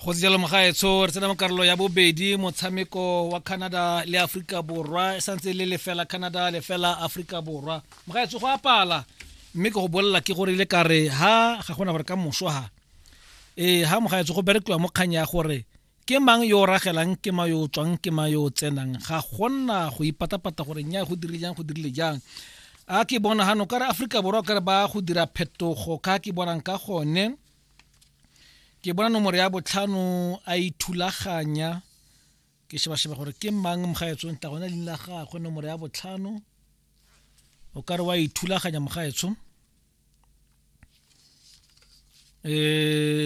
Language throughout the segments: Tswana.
Go tse jalo mogaetsho, re tsena mo karolo ya bobedi, motshameko wa Canada le Aforika Borwa e santse le 0, Canada 0, Aforika Borwa. Mogaetsho, go apala mme ke go bolelela ke gore ile ka re ha ga gona gore ka moso ha ee ha mogaetsho go berekiwa mo kgang ya gore ke mang yo o ragelang, ke mang yo o tswang, ke mang yo o tsenang. Ga gona go ipatapata gore nya go dirile jang, go dirile jang. A ke bona hano ka re Aforika Borwa ka re ba go dira phetogo ka ke bonang ka gone. Ke bona nomoro ya 5 a ithulaganya, ke sheba-sheba gore ke mang mogaetsho, ntla gona leina la gagwe, nomoro ya 5 o ka re wa ithulaganya mogaetsho.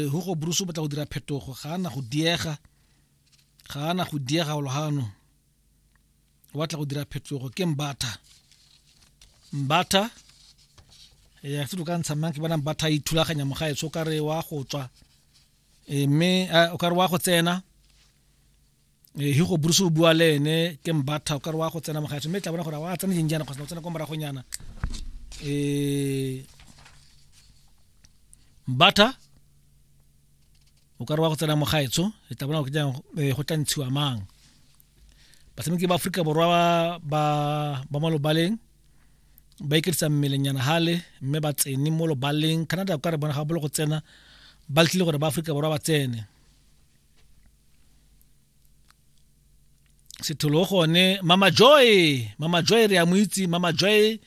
Hugo Broos o batla go dira phetogo, ga ana go diega, ga ana go diega golo hano, o batla go dira phetogo. Ke Mbatha, Mbatha ya se ka ntsha mang? Ke bona Mbatha ithulaganya mogaetsho, o ka re wa go tswa, mme o ka re wa go tsena. Hugo Broos o bua le ene, ke Mbatha, o ka re wa go tsena mogaetsho, mme tla bona gore wa tsena jeng jaana kgotsa o tsena kwa moragonyana. Mbatha o ka re wa go tsena mogaetsho, e tla bona gore jang go tla ntshiwa mang. Batshameki ba Aforika Borwa ba mo lobaleng ba iketisa mmelenyana hale, mme ba tsene mo lobaleng. Canada ka re bona ga bolo go tsena, ba letlile gore ba Aforika Borwa ba tsene. Setholo gone Mama Joy, Mama Joy re a mo itse, Mama Joy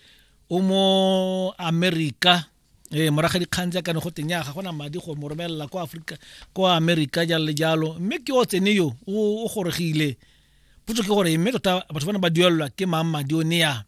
o mo America. Moraga dikgang tsa kane go teng ya ga gona madi go mo romelela kwa Afrika, kwa America, jalo le jalo, mme ke o tsene yo o goregile. Potso ke gore mme tota batho bana ba duelelwa ke mang madi o ne ya?